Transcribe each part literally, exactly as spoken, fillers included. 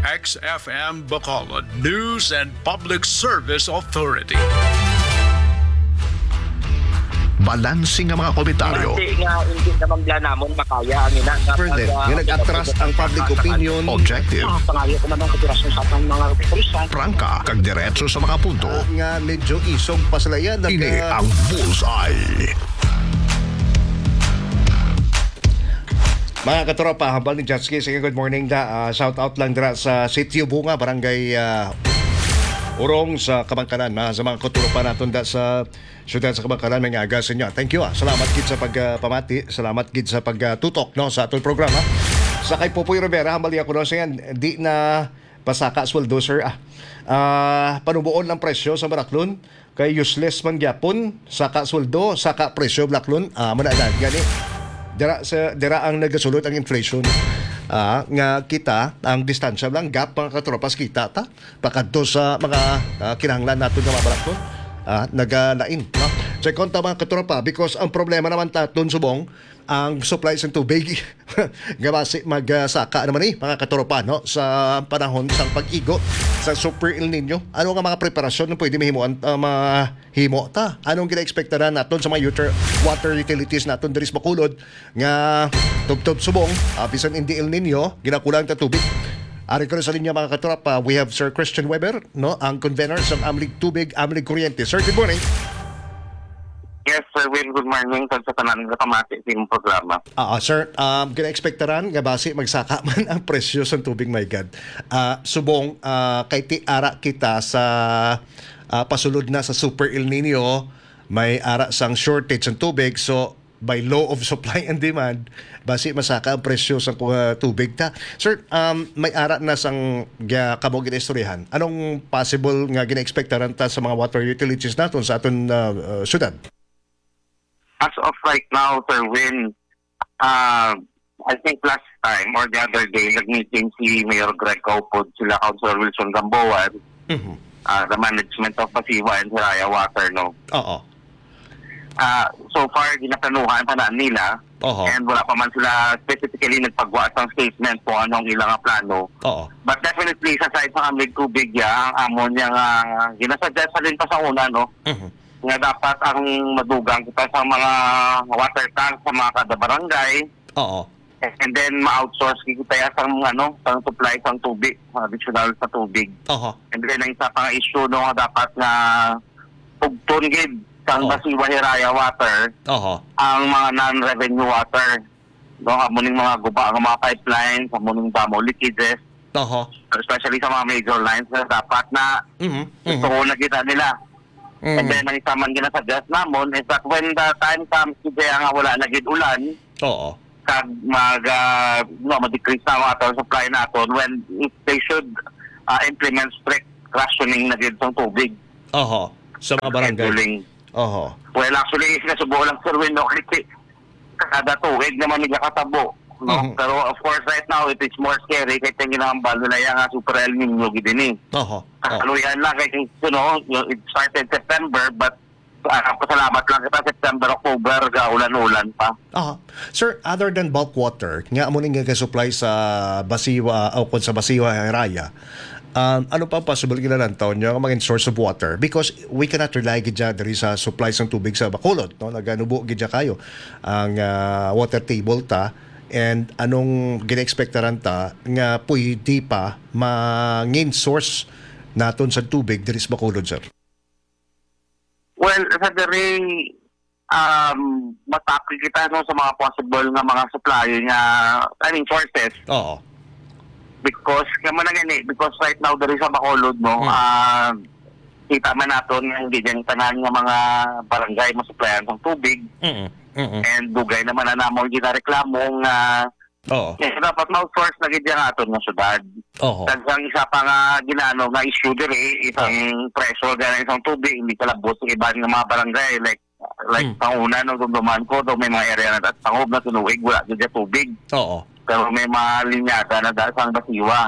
X F M Bacolod News and Public Service Authority. Balanse nga mga komentaryo. Base nga hindi naman bla namon makaya ang ina nga Further, pag, ah, nga nag-atras ang public opinion. Objective. Sa pangayo ko man ang operasyon sa atong mga kapulisan. Prangka, kag diretso sa mga punto. Ah, nga medyo isog pa sila yan. Ini ang Bullseye. Mga katropa, hambal ni Jetsky, sige, good morning da. Ah, shout out lang dira sa Sitio Bunga, Barangay, ah, Urong sa Kabangkanan, ah, sa mga katropa naton da sa siyudad sa Kabangkanan, may aga sa inyo. Thank you, ah. Salamat gid sa pagpamati, salamat gid sa pagtutok, no, sa aton programa. Sa kay Popoy Rivera, hambal niya ko, no, siya, di na pasaka sweldo, sir, ah. Ah, panuboon ang presyo sa Baraklon. Kay useless man gyapon, saka sweldo, saka presyo, Blaklon. Ah, amo na, dad, gani. Dira sa, dira ang nagasulod ang inflation. Ah, nga kita, ang distansya lang, gap, mga katropa, sa kita ta. Pakadto sa mga, ah, kinahanglan naton nga mga Blaklon. Ah, nagalain, no? Check on ta, mga katropa, because ang problema naman taton subong, ang supply sa tubig. Nga basi mag, ah, saka naman ni, mga katropa, no, sa panahon sang pag-igo sa Super El Nino. Ano nga mga preparasyon nga pwede mahimuan, ah, mahimo ta? Anong ginaekspektaran naton sa mga uter-, water utilities naton diri sa Bacolod nga tubtob subong, ah, bisan hindi El Nino, ginakulang ta tubig? Ari ko sa linya, mga katropa, we have Sir Christian Weber, no, ang convener sa Amlig Tubig, Amlig Kuryente. Sir, good morning. Yes, Sir Will, good morning. Kag sa tanan nga kamati sa imong programa. Ah, ah, sir, um, ginaekspektaran nga basi magsaka man ang presyo sa tubig, my God. Ah, subong, ah, kay ti ara kita sa, ah, pasulod na sa Super El Nino, may ara sang shortage ng tubig. So, by law of supply and demand, basi masaka ang presyo sa, ah, tubig ta. Sir, um, may ara na sang gya-, kamo ginaistoryahan. Anong possible nga ginaekspektaran ta sa mga water utilities naton sa aton, ah, ah, syudad? As of right now, Sir Win, ah, I think last time or the other day, nag-meeting si Mayor Greg Caupod, sila Councilor Wilson Gamboa, Mhm. ah, the management of Pasiwa and Hiraya Water, no? Oo. Ah, so far, ginaplanuhan pa na nila. Oho. And wala pa man sila specifically nagpagwa sang statement kung anong ilang plano. Oo. But definitely, sa side sa Amig Tubig, ya, ang amo niya nga ginasuggest sa din pa sa una, no? Mhm. Nga dapat ang madugang kita sa mga water tank sa mga kada barangay. Oo. And then ma-outsource kita ya sang, ano, sang supply sang tubig, additional sa tubig. Oho. And then ang isa pa nga issue, no, nga dapat nga pugton gid sang Oo. Basiwa Hiraya water Oho. ang mga non-revenue water, no, amo ning mga guba nga mga pipelines, amo ning damo leakages, Oho. especially sa mga major lines na dapat na Mhm. Mhm. gusto ko nakita nila. And Mm. then, ang isa man ginasuggest namon is that when the time comes, kaya nga wala na gid ulan, Oo. kag mag, ah, no, ma-decrease na ang water supply naton, when if they should, ah, implement strict rationing na gid sa tubig. Oho. Sa mga barangay. Scheduling. Oho. Well, actually, nasubo lang, Sir Win, no, kasi kada tuig naman nagkakatabo, no? Mhm. Pero of course, right now, it is more scary kay ang ginahambal nila ya nga Super El Nino gid ini. Oho. Oho. Kaluyan lang kay, you know, it started September, but, ah, pasalamat lang kita, September, October, ga ulan-ulan pa. Aha. Sir, other than bulk water, nga amo ning gasupply sa Basiwa, o kung sa Basiwa Raya, um, ano pa ang possible ginalantaw niyo nga mga source of water? Because we cannot rely gid dyan diri sa supply sang tubig sa Bacolod, no? Naganubo gid dyan kayo ang, ah, water table ta. And anong ginaekspektaran ta nga pwede pa mangin source naton sa tubig diri sa Bacolod, sir? Well, sa diri, um, matapil kita, no, sa mga possible nga mga supply nga, I mean, sources. Oo. Because, kaya man na gani, because right now, diri sa Bacolod, no, Hmm. ah, kita man naton nga hindi dyan tanan nga mga barangay masuplayan sang tubig. Mm, mm. And dugay naman na namon ginareklamo nga Oo. Kaya dapat ma-outsource na gid ang aton nga syudad. Oho. Kag ang isa pa nga ginaano nga issue diri, isang Oo. pressure gani isang tubig, hindi kalabot sa iban nga mga barangay, like, like Hmm. sa una, no, dumduman ko, daw may mga area na taas, tangob na tinuig, wala gid siya tubig. Oo. Pero may mga linyada na dahil sa Basiwa.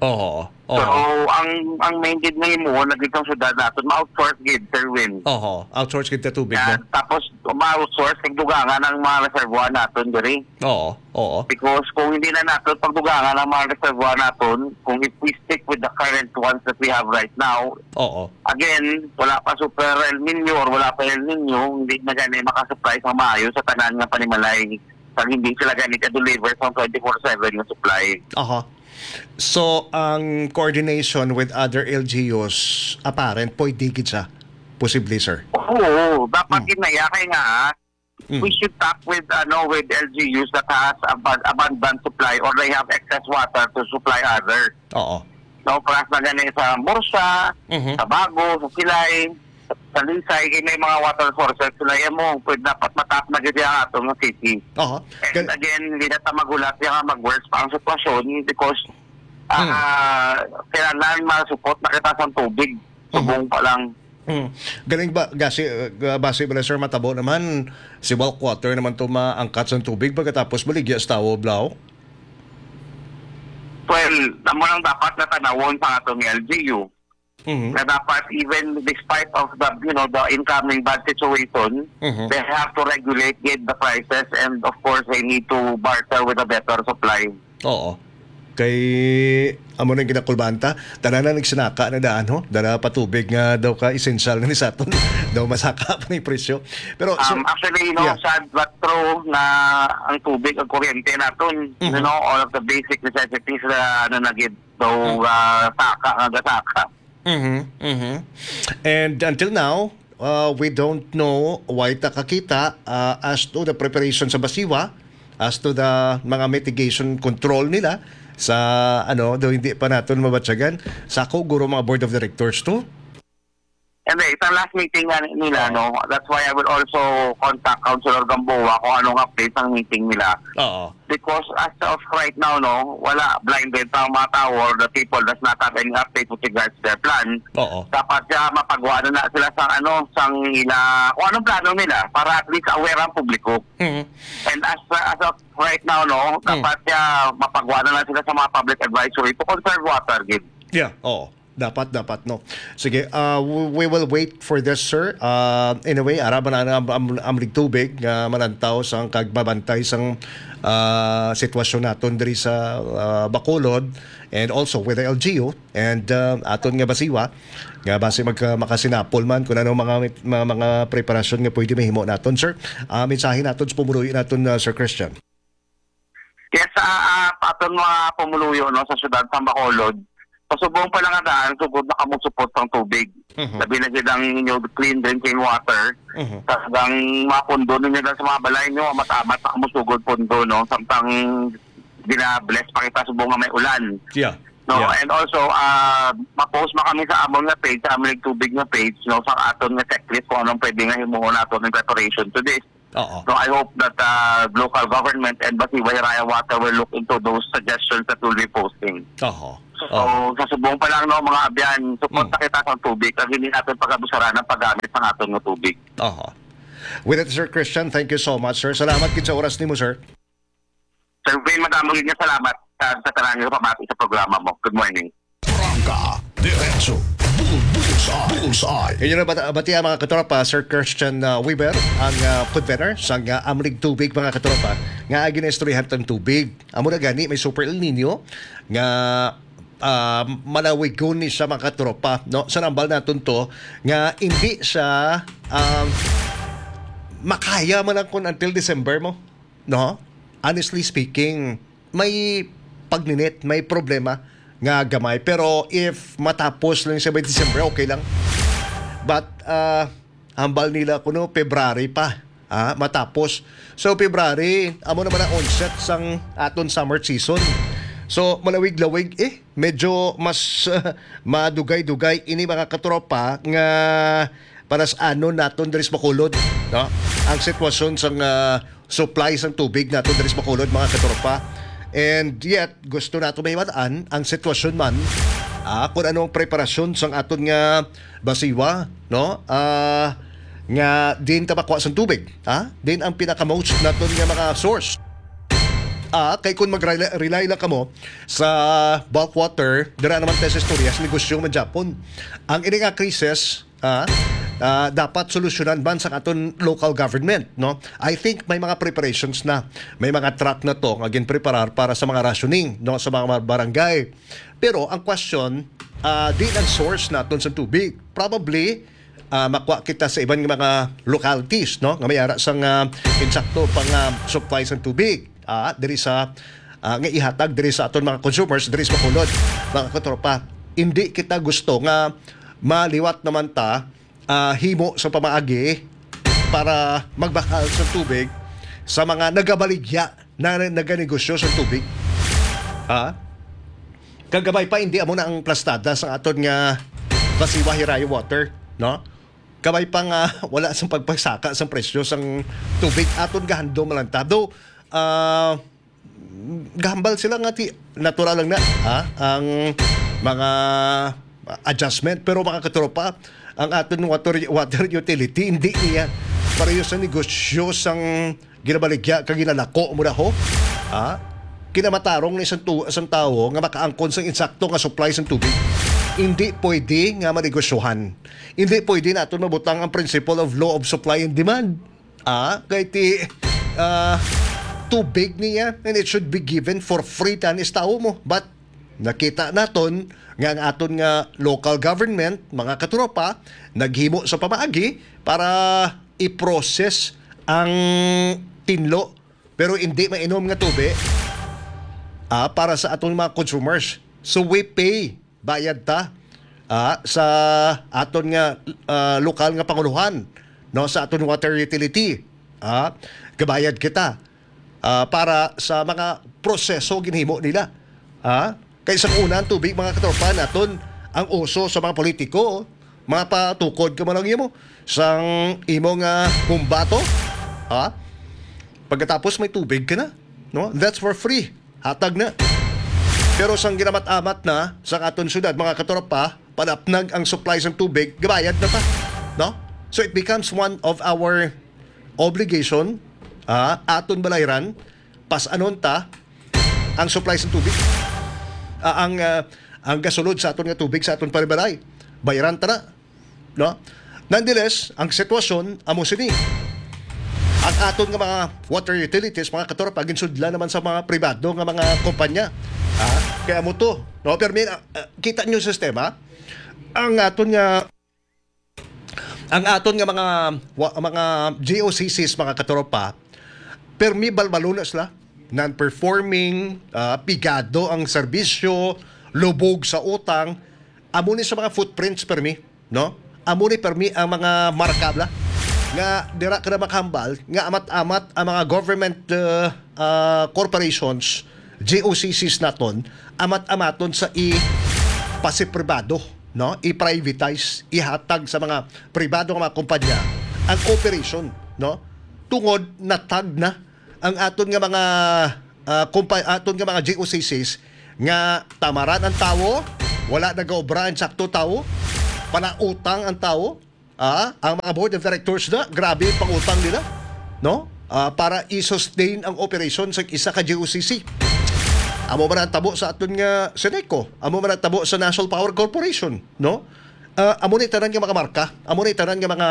Oho. So, oho. ang, ang main gid nga himuon na gid sang syudad naton, ma-outsource gid, Sir Win. Oho. Outsource gid ta tubig, Yan. no? Tapos, ma-outsource ang dugangan ang mga reservoir naton diri. Oo. Oo. Because kung hindi na naton pagdugangan ang mga reservoir naton, kung if we stick with the current ones that we have right now, Oo. again, wala pa super El Nino or wala pa El Nino, hindi na gani makasupply sa maayo sa tanan nga panimalay. Kag hindi sila gani ka-deliver sa twenty-four seven nga supply. Aha. So, ang coordination with other L G Us, apparent, pwede gid siya. Posible, sir. Oo, dapat Hmm. yun na yan. Kaya nga, ah, Mm. we should talk with, ano, with L G Us that has aban-, abundant supply or they have excess water to supply other. Oo. No, plus na gani sa Murcia, Mhm. sa Bago, sa Silay, sa Lisay, kay may mga water sources sila yan mo. Pwede dapat matap na gid ang atong city. Aha. And Gal- again, hindi na ta magulat yan nga mag-worse pa ang sitwasyon because, Hmm. ah, kailangan masupot na kita sa tubig. Mhm. Subong pa lang. Hmm. Galing ba, gasi, uh, base ba, sir, matabo naman, si bulk water naman to maangkat sa tubig pagkatapos baligya sa tawo, Blau? Well, amo lang dapat natanawon sa atong L G U. Mhm. Na dapat, even despite of the, you know, the incoming bad situation, Mhm. they have to regulate gid the prices and, of course, they need to barter with a better supply. Oo. Kay, amo nang ginakulbaan ta, tanan na nagsinaka na daan, ho? Dala pa tubig nga daw ka essential na ni sa aton. Daw masaka pa ni presyo. Pero, so, Um, actually, you know, yeah. sad but true na ang tubig, ang kuryente naton, Mhm. you know, all of the basic necessities na ano na gid. So, Mm. ah, saka nga gasaka. Mhm, mhm. And until now, uh, we don't know, way ta kakita, uh, as to the preparation sa Basiwa, as to the mga mitigation control nila sa, ano, daw hindi pa naton mabatyagan. Sa ako, guro, mga board of directors to. And then, sa last meeting nga nila, Oh. no, that's why I will also contact Councilor Gamboa kung anong update ng meeting nila. Oo. Because as of right now, no, wala, blinded pa ang mga tao or the people does not have any update with regards to their plan. Oo. Dapat siya mapagawa na, na sila sa ano, sang ila, kung anong plano nila para at least aware ang publiko. Mhm. And as, as of right now, no, Mm. dapat siya mapagawa na, na sila sa mga public advisory to conserve water, gid. Yeah, oo. Dapat, dapat, no. Sige, uh, we, we will wait for this, sir. Uh, anyway, ara man ang am, am, Amlig Tubig nga manantaw sang kag mabantay sang, uh, sitwasyon naton diri sa, uh, Bacolod and also with the L G U and, uh, aton nga Basiwa nga basi magka-, makasinapol man kung ano mga, mga, mga preparasyon nga pwede mahimo naton, sir. Uh, mensahe naton sa pumuluyo naton, uh, Sir Christian. Yes, ah, ah, aton mga pumuluyo, no, sa siyudad sa Bacolod, pasubong pa lang nga daan, sugod na kamo supot sang tubig. Mhm. Labi na gid ang inyo clean drinking water. Mhm. Talagang mapundo ninyo daan sa mga balay nyo, amat-amat na kamo sugod pundo, no, samtang gina-bless pa kita subong nga may ulan. Yeah. No, Yeah. and also, ah, ma-post man kami sa amon nga page, sa amon nga tubig nga page, no, sa aton nga checklist kung anong pwede nga himuon nato in preparation to this. Oo. So, I hope that, uh, local government and Basiwa Hiraya Water will look into those suggestions that will be posting. Oho. So, Oho. sa subong pa lang, no, mga abyan, support Mm. na kita sa tubig, kag hindi natin pag-abusaran ang paggamit ng aton nga tubig. Oho. With that, Sir Christian, thank you so much, sir. Salamat gid sa oras nimo, sir. Sir Vin, madamo gid nga salamat sa, sa tanan nga pamati sa programa mo. Good morning. Prangka, diretso, bull, bullseye, bullseye. Inyo na bata-, batia, mga katropa, Sir Christian, uh, Weaver, ang, uh, convener sang, uh, Amlig Tubig, mga katropa, nga ginaistoryahan tang tubig. Amo na gani, may Super El Nino nga, uh, malawigon ni siya, mga katropa, no? Sa nambal naton to, nga hindi siya, um, makaya man lang kung until December mo, no? Honestly speaking, may pagninit, may problema nga gamay. Pero if matapos lang siya by December, okay lang. But, ah, hambal nila kuno February pa, ah, matapos. So, February, amo naman ang onset sang aton summer season. So, malawig-lawig, eh, medyo mas madugay-dugay ini, mga katropa, nga palas-anon naton diri sa Bacolod, no? Ang sitwasyon sang, ah, supply sang tubig naton diri sa Bacolod, mga katropa. And yet, gusto nato mahibalaan ang sitwasyon man, ah, kung ano ang preparasyon sang aton nga Basiwa, no? Ah, nga din ta makuha sang tubig, ha? Din ang pinaka-most naton nga mga source. Ah, kay kung mag-rely lang kamo sa bulk water, dira naman tayo sa istorya, sa negosyo man Japon. Ang ini nga krisis, ah, ah, dapat solusyonan man sa aton local government, no? I think may mga preparations na, may mga truck na to nga ginpreparar para sa mga rationing, no, sa mga barangay. Pero ang question, ah, di ang source naton sa tubig. Probably, ah, makuha kita sa iban nga mga localities, no, nga may ara sang, ah, insakto pang, ah, supply sang tubig, ah, diri sa, ah, nga ihatag diri sa aton mga consumers diri sa Bacolod, mga katropa. Hindi kita gusto nga maliwat naman ta, ah, himo sa pamaagi para magbakal sa tubig sa mga nagabaligya na naganegosyo sa tubig. Ha? Kagabay pa, hindi amo na ang plastada sa aton nga Basiwa Hirayo Water, no? Kabay pa nga wala sang pagpagsaka sang presyo sang tubig, aton gahandom lang ta. Though, ah, gahambal sila nga ti natural lang na, ha, ang mga adjustment, pero mga katropa, ang aton water water utility hindi niya pareho sa negosyo sang ginabaligya kag ginalako mo na ho, ha? Kinamatarong ni sang tu sang tawo nga makaangkon sang insakto nga supply sang tubig. Hindi pwede nga manegosyohan. Hindi pwede naton mabutang ang principle of law of supply and demand. Ah, kay ti ah, tubig niya, and it should be given for free tanis tawo mo. But nakita naton nga ang aton nga local government, mga katropa, naghimo sa pamaagi para i-process ang tinlo pero hindi mainom nga tubig, ah, para sa aton mga consumers. So we pay, bayad ta, ah, sa aton nga, ah, lokal nga panguluhan, no, sa aton water utility. Ah, gabayad kita, ah, para sa mga proseso ginhimo nila. Ah, kay sa una ang tubig, mga katropa naton, ang uso sa mga politiko, mga patukod ka man lang imo sang imo nga kumbato, ha? Pagkatapos may tubig ka na, no? That's for free. Hatag na. Pero sang ginamat-amat na sa aton syudad, mga katropa, panapnag ang supply sang tubig, gabayad na ta, no? So it becomes one of our obligation, ah, aton balayran, pas-anon ta ang supply sang tubig, ah, ang ah, ang gasulod sa aton nga tubig sa aton panimalay. Bayran ta na, no? Nonetheless, ang sitwasyon amo sini. Ang aton nga mga water utilities, mga katropa, ginsudlan naman sa mga pribado nga mga kumpanya. Ha? Kaya mo to, no? Pero may, ah, ah, kita niyo ang sistema, ang aton nga ang aton nga mga wa- mga G O C Cs, mga katropa, permi balbalo na sila, non-performing, ah, pigado ang serbisyo, lubog sa utang, amo ni sa mga footprints permi, no? Amo ni permi ang mga marka bala nga dira ka na makahambal nga amat-amat ang mga government, uh, uh, corporations, G O C Cs naton, amat-amaton sa ipasipribado, no? I-privatize, ihatag sa mga pribado nga mga kumpanya ang operation, no? Tungod natag na ang aton nga mga, ah, kumpa-, aton nga mga G O C Cs nga tamaran ang tawo, wala nagaobra ang sakto tawo, panautang ang tawo, ah, ang mga board of directors na, grabe ang pangutang nila, no? Ah, para i-sustain ang operation sa isa ka G O C C. Amo man ang tabo sa aton nga Seneco, amo man ang tabo sa National Power Corporation, no? Ah, amo ni tanan nga mga marka, amo ni tanan nga mga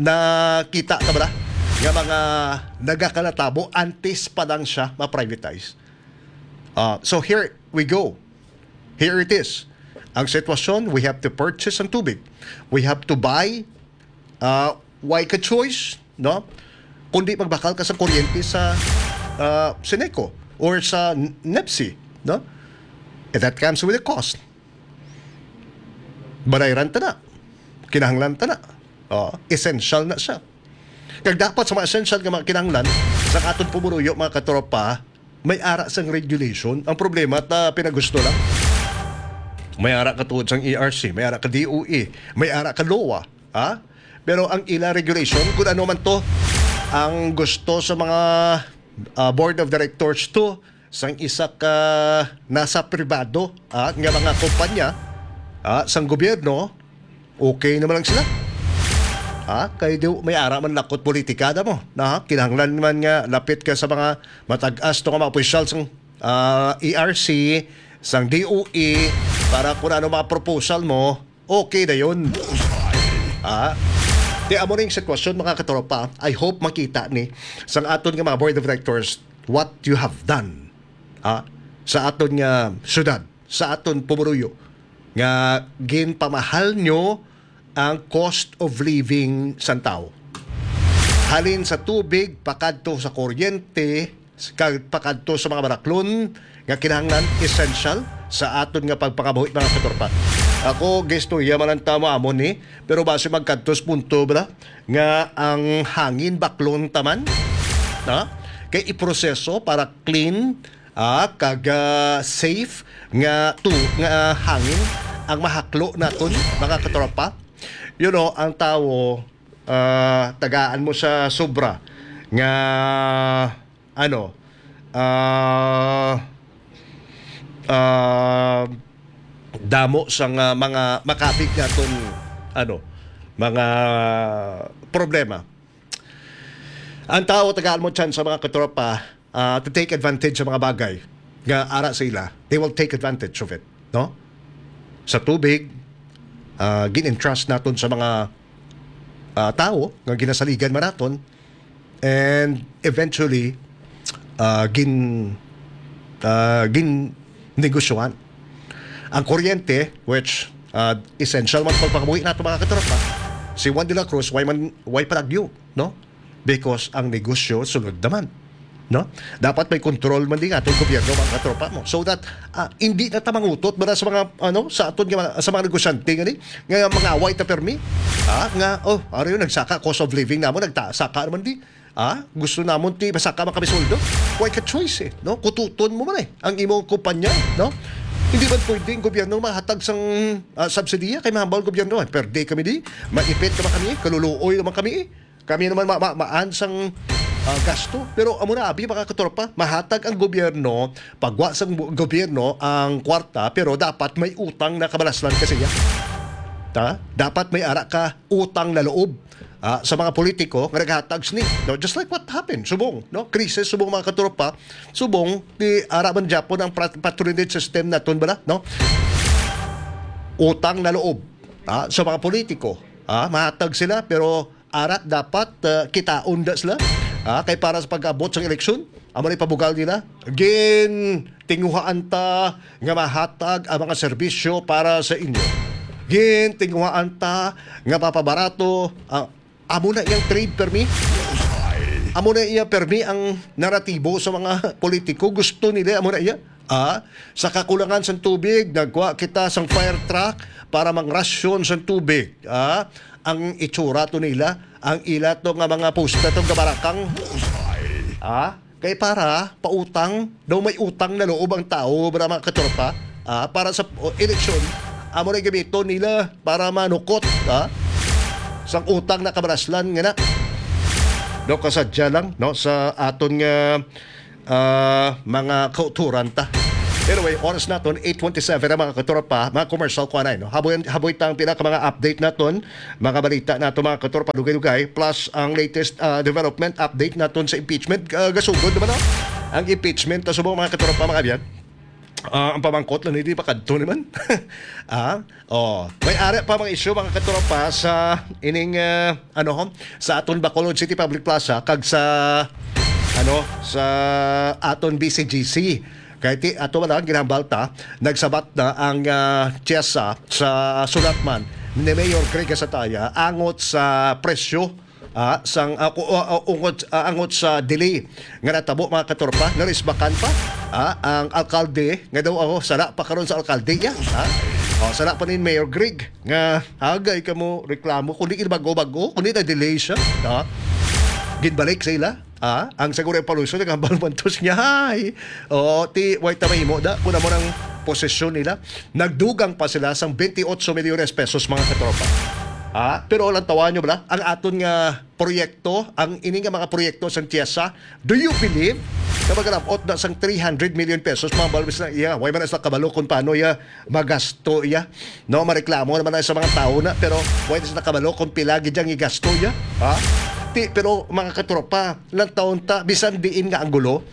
nakita ta bala nga mga nagakanatabo antes pa lang siya ma-privatize. Ah, so here we go. Here it is. Ang sitwasyon, we have to purchase ang tubig. We have to buy, ah, why ka choice, no? Kundi magbakal ka sa kuryente sa, ah, Seneco or sa N- NEPC, no? And that comes with a cost. Balayran ta na. Kinahanglan ta na. Oh, essential na siya. Kag dapat sa mga essential nga mga kinahanglan sa aton pumuruyo, mga katropa, may ara sang regulation. Ang problema, ta pinagusto lang. May ara ka tuod sang E R C, may ara ka D O E, may ara ka loa, ha? Pero ang ila regulation, kung ano man to, ang gusto sa mga, ah, board of directors to, sang isa ka nasa pribado, ah, nga mga kumpanya, ah, sang gobyerno, okay naman lang sila. Ha? Kay di may ara man lakot politika na mo. Na, kinahanglan man nga lapit ka sa mga matag-as to nga mga opisyal sang, ah, E R C, sang D O E, para kung ano mga proposal mo, okay na yun. Ha? Di amo ning sitwasyon, mga katropa. I hope makita ni sang aton nga mga board of directors what you have done, ha? Sa aton nga syudad, sa aton pumuruyo, nga ginpamahal nyo ang cost of living sang tawo. Halin sa tubig, pakadto sa kuryente, kag pakadto sa mga baraklon nga kinahanglan, essential sa aton nga pagpangabuhi, mga katropa. Ako, gistorya man ang tamo amo ni, pero basi magkadto sa punto bala nga ang hangin baklon taman, na? Kay iproseso para clean, ah, kag, ah, safe nga tu-, nga hangin ang mahaklo naton, mga katropa. You know, ang tawo, ah, tagaan mo sa sobra nga, ano, ah, ah, damo sang, ah, mga makapig naton, ano, mga problema. Ang tawo, tagaan mo chance, mga katropa, ah, to take advantage sa mga bagay nga ara sa ila. They will take advantage of it, no? Sa tubig, ah, gin-entrust naton sa mga, ah, tawo nga ginasaligan man naton, and eventually, ah, gin-, ah, gin-negosyohan. Ang kuryente, which, ah, essential man pagpangabuhi nato, mga katropa, si Juan de la Cruz, why man, why palagyo, no? Because ang negosyo sulod naman, no? Dapat may control man din atong gobyerno, mga katropa mo, so that, ah, hindi na ta mangutot ba sa mga, ano, sa aton nga mga, sa mga negosyante nga ni, nga mga away ta permi, ah, nga, oh, ari yung nagsaka, cost of living namo nagta-, saka naman di, ah, gusto namon ti masaka man kami sweldo. Why ka choice, eh, no? Kututon mo man, eh, ang imong kumpanya, no? Hindi man pwede ang gobyerno mahatag sang, ah, subsidiya kay mahambal ang gobyerno, eh, perde kami di, maipit naman kami, kaluluoy naman kami, eh. Kami naman ma-, ma-, maan sang, ah, gasto. Pero amo na, abi, mga katropa, mahatag ang gobyerno, pagwa sang bu-, gobyerno ang kwarta, pero dapat may utang na kabalaslan ka siya. Ta? Dapat may ara ka utang na loob, ah, sa mga politiko nga naghatag sini, no? Just like what happened subong, no? Krisis subong, mga katropa, subong di ara man gyapon ang pat-, patronage system naton bala, no? Utang na loob, ah, sa mga politiko, ah, mahatag sila, pero ara dapat, ah, kitaon da sila, ah, kay para sa pag-abot sang eleksyon, amo ni pabugal nila, gintinguhaan ta nga mahatag ang mga serbisyo para sa inyo. Gintinguhaan ta nga mapabarato ang, amo na iyang trade permi. Amo na iya permi ang naratibo sa mga politiko. Gusto nila, amo na iya. Ah, sa kakulangan sang tubig, nagkuha kita sang fire truck para mangrasyon sang tubig. Ah, ang itsura to nila, ang ila to nga mga posta to gabarakang. Ah, kay para pautang, daw may utang na loob ang tao, bra, mga katropa, ah, para sa, o, eleksyon, amo na gamiton nila para manukot, ah, sang utang na kabalaslan nga na. Do kasadya lang, no, sa aton nga, ah, mga kauturan ta. Anyway, oras naton, eight twenty-seven ang, mga katropa, mga commercial ko anay, no? Haboy, haboy tang pila ka mga update naton, mga balita nato, mga katropa, dugay-dugay, plus ang latest, ah, development update naton sa impeachment. Ah, gasugod naman, no? Ang impeachment, ta subong, mga katropa, mga abyan. Ah, ang pamangkot lang, hindi pa kadto naman. Ah, oh, may ari pa mga isyu, mga katropa, sa ining, ah, ano, sa aton Bacolod City Public Plaza kag sa, ano, sa aton B C G C. Kay ti-, ato wala ang ginahambal ta, nagsabat na ang, ah, TIEZSA sa sulat man ni Mayor Greg Gasataya angot sa presyo, ah, sang, ah, ku-, ah, ah, ungot, ah, angot sa delay nga natabo, mga katropa, narisbakan pa, ah, ang alkalde nga daw, oh, sala pa karon sa alkalde, ya, ha? Oh, sala pa ni Mayor Greg nga hagay ka mo reklamo kundi bago-bago, kundi na-delay siya, ha? Ginbalik sa ila, ah, ang Seguro Evolution, nagambal man to niya, hay. Oh, ti, way ta mahimo da, kung amo nang posisyon nila. Nagdugang pa sila sang twenty-eight milyones pesos, mga katropa. Ah, pero lang tawa nyo bala, ang aton nga proyekto, ang ini nga mga proyekto sang TIEZSA, do you believe Kapag nabot na sang three hundred million pesos, mga balbis na iya. Way man na sila kabalo kung paano iya magasto iya. No, mareklamo naman na sa mga tao na, pero way na sila kabalo kung pila gid ang igasto iya. Ha? Ti, pero mga katropa, lang taon ta, bisan diin nga anggulo,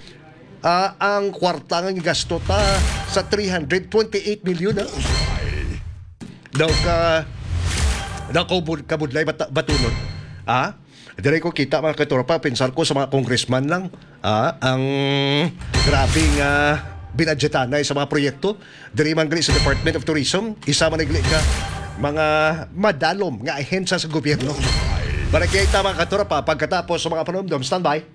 ah, ang kwarta nga igasto ta sa three hundred twenty-eight million, ha? Daw ka, daw ka bud-, kabudlay bata-, batunon. Ha? Diri ko kita, mga katropa, pensar ko sa mga congressman lang. Ah, ang grabe nga binadyetanay sa mga proyekto. Diri man gali sa Department of Tourism, isa man gali ka mga madalom nga ahensya sa gobyerno. Para kita, mga katropa, pagkatapos sa mga panumdom, standby.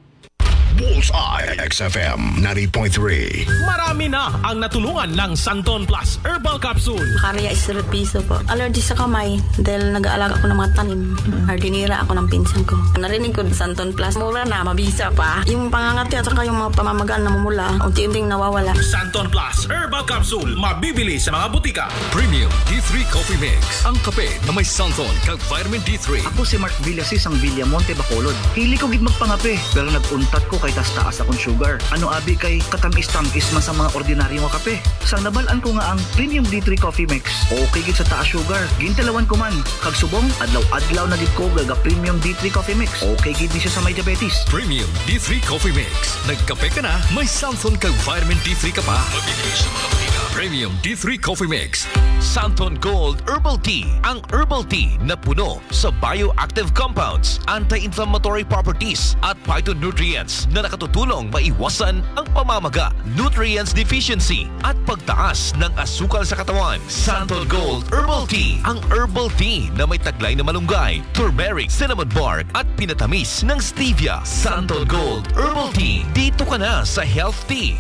Bullseye, X F M ninety point three. Marami na ang natulungan ng Santon Plus Herbal Capsule. Karya is piso po. Allergy sa kamay dahil nag-aalaga ako ng mga tanim. Hardinira ako ng pinsan ko. Narinig ko, Santon Plus, mura na, mabisa pa. Yung pangangati at saka yung mga pamamaga na namumula, unti-unting nawawala. Santon Plus Herbal Capsule, mabibili sa mga butika. Premium D three Coffee Mix, ang kape na may santon kag vitamin D three. Ako si Mark Villasis ang Villamonte, Bacolod. Hili ko gid magpangape, pero nag-untat ko kay taas-taas akong sugar. Ano abi kay katamis-tamis man sa mga ordinaryo nga kape. Sang nabal-an ko nga ang Premium D three Coffee Mix, okay gid sa taas sugar. Gintilawan ko man, kag subong, adlaw-adlaw na gid ko gaga Premium D three Coffee Mix. Okay gid ni siya sa may diabetes. Premium D three Coffee Mix. Nagkape ka na, may santon kag vitamin D three ka pa. Mabibili sa mga botika. Premium D three Coffee Mix. Santon Gold Herbal Tea, ang herbal tea na puno sa bioactive compounds, anti-inflammatory properties, at phytonutrients na nakatutulong maiwasan ang pamamaga, nutrients deficiency, at pagtaas ng asukal sa katawan. Santon Gold Herbal Tea, ang herbal tea na may taglay na malunggay, turmeric, cinnamon bark, at pinatamis ng stevia. Santon Gold Herbal Tea. Dito ka na sa Health Tea.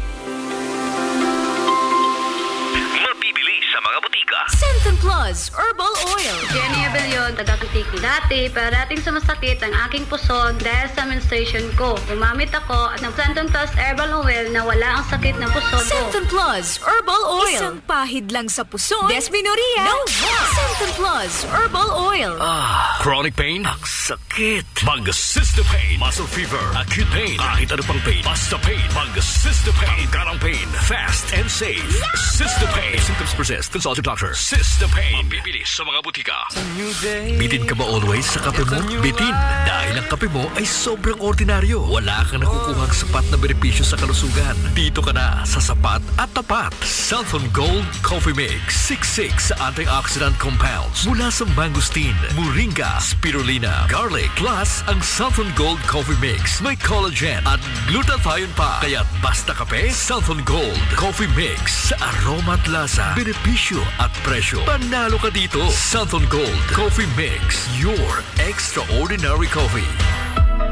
Mabibili sa mga butika. Santon Plus Herbal Oil. Jenny Abellon, taga Antique. Dati, parating sumasakit ang aking puson dahil sa menstruation ko. Gumamit ako ng Santon Plus Herbal Oil na wala ang sakit ng puson ko. Santon Plus Herbal Oil. Isang pahid lang sa puson. Dysmenorrhea. No more. Santon Plus Herbal Oil. Ah, chronic pain? Ang sakit. Mag Cystepain. Muscle fever, acute pain, kahit ano pang pain. Basta pain. Mag Cystepain. Tanggal ang pain. Fast and safe. Cystepain. If symptoms persist, consult your doctor. Cystepain. Mabibili sa mga butika. Bitin ka ba always sa kape mo? Bitin, dahil ang kape mo ay sobrang ordinaryo. Wala kang nakukuhang sapat na benepisyo sa kalusugan. Dito ka na sa sapat at tapat. Santon Gold Coffee Mix. Siksik sa antioxidant compounds mula sa mangosteen, moringa, spirulina, garlic. Plus, ang Santon Gold Coffee Mix may collagen at glutathione pa. Kaya't basta kape, Santon Gold Coffee Mix. Sa aroma at lasa, benepisyo at presyo, panalo ka dito. Santon Gold Coffee Mix, your extraordinary coffee.